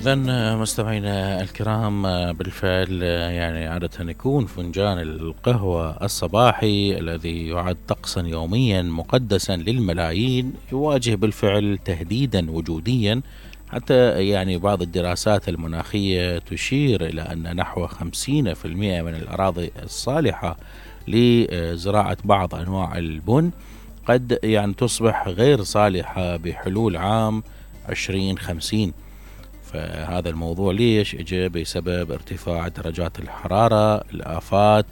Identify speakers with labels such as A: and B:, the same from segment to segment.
A: إذا مستمعينا الكرام، بالفعل يعني عادة يكون فنجان القهوة الصباحي الذي يعد طقسا يوميا مقدسا للملايين يواجه بالفعل تهديدا وجوديا. حتى يعني بعض الدراسات المناخية تشير إلى أن نحو 50% من الأراضي الصالحة لزراعة بعض أنواع البن قد يعني تصبح غير صالحة بحلول عام 2050. فهذا الموضوع ليش اجى؟ بسبب ارتفاع درجات الحرارة، الآفات،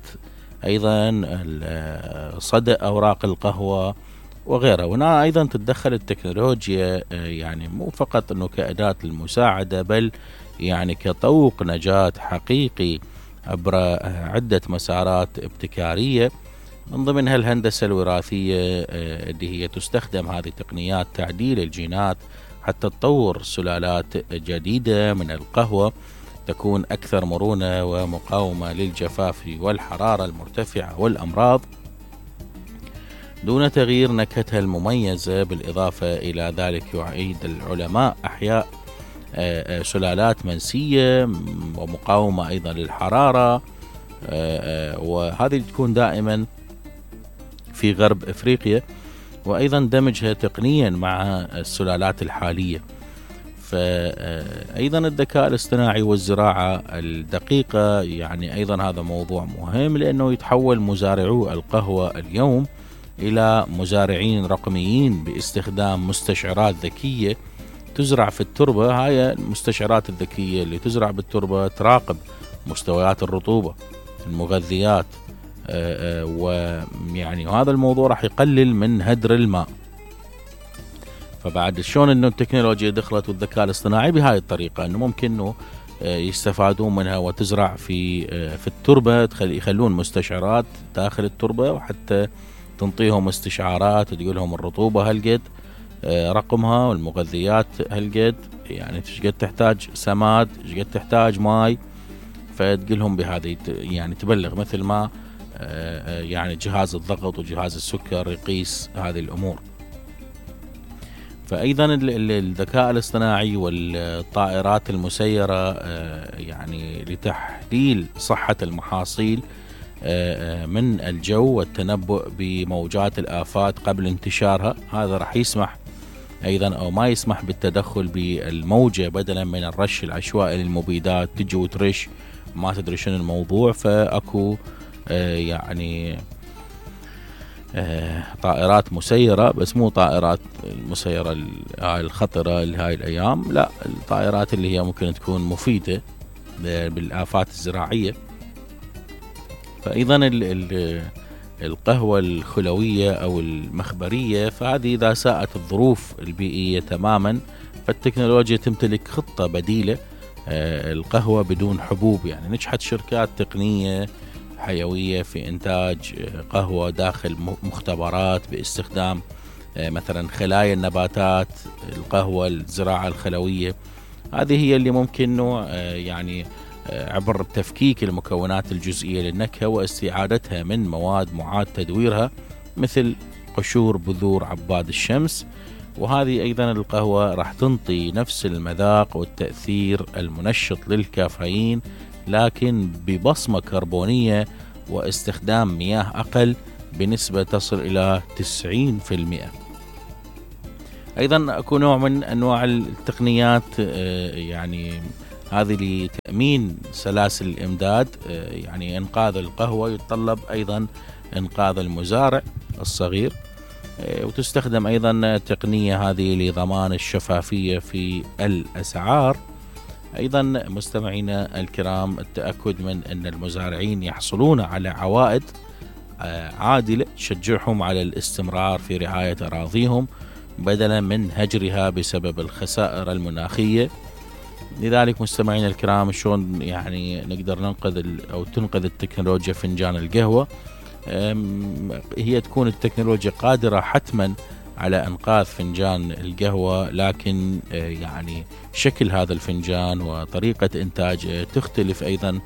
A: أيضا صدأ أوراق القهوة وغيرها. وهنا أيضا تتدخل التكنولوجيا، يعني مو فقط أنه كأداة للمساعدة، بل يعني كطوق نجاة حقيقي عبر عدة مسارات ابتكارية، من ضمنها الهندسة الوراثية اللي هي تستخدم هذه التقنيات تعديل الجينات حتى تطور سلالات جديدة من القهوة تكون أكثر مرونة ومقاومة للجفاف والحرارة المرتفعة والأمراض دون تغيير نكهتها المميزة. بالإضافة إلى ذلك يعيد العلماء أحياء سلالات منسية ومقاومة أيضا للحرارة، وهذه تكون دائما في غرب إفريقيا، وأيضا دمجها تقنيا مع السلالات الحالية. فأيضا الذكاء الاصطناعي والزراعة الدقيقة يعني أيضا هذا موضوع مهم، لأنه يتحول مزارعو القهوة اليوم إلى مزارعين رقميين باستخدام مستشعرات ذكية تزرع في التربة. هاي المستشعرات الذكية اللي تزرع بالتربة تراقب مستويات الرطوبة، المغذيات، ويعني وهذا الموضوع راح يقلل من هدر الماء. فبعد شلون انه التكنولوجيا دخلت والذكاء الاصطناعي بهاي الطريقة، انه ممكن انه يستفادون منها وتزرع في التربة، يخلون مستشعرات داخل التربة وحتى تنطيهم استشعارات وتقول لهم الرطوبة هالقد، رقمها، والمغذيات هالقد، يعني ايش قد تحتاج سماد، ايش قد تحتاج ماي، فتقولهم بهذه، يعني تبلغ مثل ما يعني جهاز الضغط وجهاز السكر يقيس هذه الأمور. فأيضا الذكاء الاصطناعي والطائرات المسيرة يعني لتحليل صحة المحاصيل من الجو والتنبؤ بموجات الآفات قبل انتشارها. هذا راح يسمح أيضا أو ما يسمح بالتدخل بالموجة، بدلا من الرش العشوائي للمبيدات تجي وترش ما تدري شنو الموضوع. فأكو يعني طائرات مسيرة، بس مو طائرات المسيرة الخطرة لهاي الأيام، لا، الطائرات اللي هي ممكن تكون مفيدة بالآفات الزراعية. فأيضا القهوة الخلوية أو المخبرية، فهذه إذا ساءت الظروف البيئية تماما فالتكنولوجيا تمتلك خطة بديلة. القهوة بدون حبوب، يعني نجحت شركات تقنية حيوية في إنتاج قهوة داخل مختبرات باستخدام مثلا خلايا النباتات، القهوة الزراعة الخلوية. هذه هي اللي ممكن يعني عبر تفكيك المكونات الجزئية للنكهة واستعادتها من مواد معاد تدويرها مثل قشور بذور عباد الشمس. وهذه أيضا القهوة راح تنطي نفس المذاق والتأثير المنشط للكافيين، لكن ببصمة كربونية واستخدام مياه أقل بنسبة تصل إلى 90%. أيضا أكو نوع من أنواع التقنيات يعني هذه لتأمين سلاسل الإمداد، يعني إنقاذ القهوة يتطلب أيضا إنقاذ المزارع الصغير، وتستخدم أيضا تقنية هذه لضمان الشفافية في الأسعار. أيضا مستمعينا الكرام، التأكد من أن المزارعين يحصلون على عوائد عادلة تشجعهم على الاستمرار في رعاية أراضيهم بدلا من هجرها بسبب الخسائر المناخية. لذلك مستمعينا الكرام، شلون يعني نقدر ننقذ أو تنقذ التكنولوجيا فنجان القهوة؟ هي تكون التكنولوجيا قادرة حتما على إنقاذ فنجان القهوة، لكن يعني شكل هذا الفنجان وطريقة إنتاجه تختلف أيضا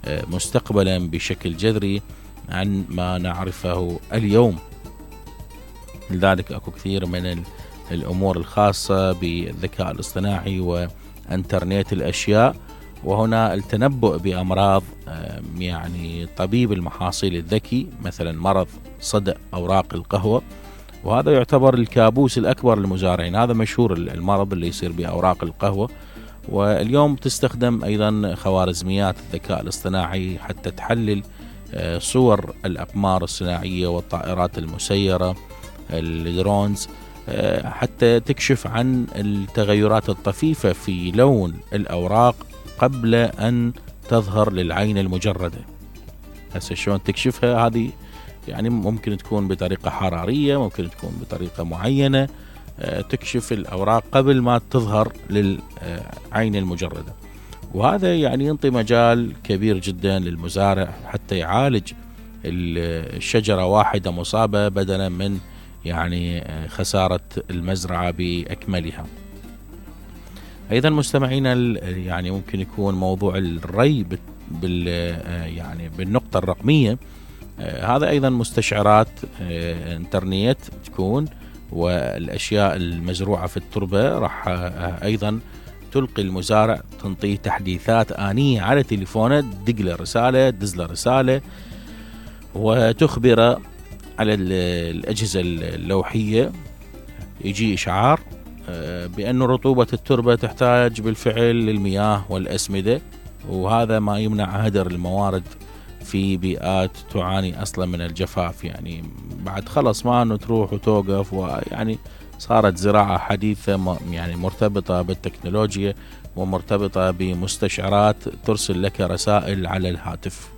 A: مستقبلا بشكل جذري عن ما نعرفه اليوم. لذلك أكو كثير من الأمور الخاصة بالذكاء الاصطناعي انترنت الأشياء، وهنا التنبؤ بأمراض. يعني طبيب المحاصيل الذكي مثلا مرض صدأ أوراق القهوة، وهذا يعتبر الكابوس الأكبر للمزارعين. هذا مشهور المرض اللي يصير بأوراق القهوة. واليوم تستخدم أيضا خوارزميات الذكاء الاصطناعي حتى تحلل صور الأقمار الصناعية والطائرات المسيرة الدرونز، حتى تكشف عن التغيرات الطفيفة في لون الأوراق قبل أن تظهر للعين المجردة. هسه شلون تكشفها؟ هذه يعني ممكن تكون بطريقة حرارية، ممكن تكون بطريقة معينة تكشف الأوراق قبل ما تظهر للعين المجردة. وهذا يعني ينطي مجال كبير جدا للمزارع حتى يعالج الشجرة واحدة مصابة بدلا من يعني خسارة المزرعة بأكملها. أيضا مستمعينا يعني ممكن يكون موضوع الري يعني بالنقطة الرقمية. هذا أيضا مستشعرات انترنت تكون، والأشياء المزروعة في التربة راح أيضا تلقي المزارع، تنطيه تحديثات آنية على تليفونه، تدق له رسالة، تدز له رسالة، وتخبره على الأجهزة اللوحية. يجي إشعار بأن رطوبة التربة تحتاج بالفعل للمياه والأسمدة، وهذا ما يمنع هدر الموارد في بيئات تعاني أصلا من الجفاف. يعني بعد خلص ما أنه تروح وتوقف، ويعني صارت زراعة حديثة يعني مرتبطة بالتكنولوجيا ومرتبطة بمستشعرات ترسل لك رسائل على الهاتف.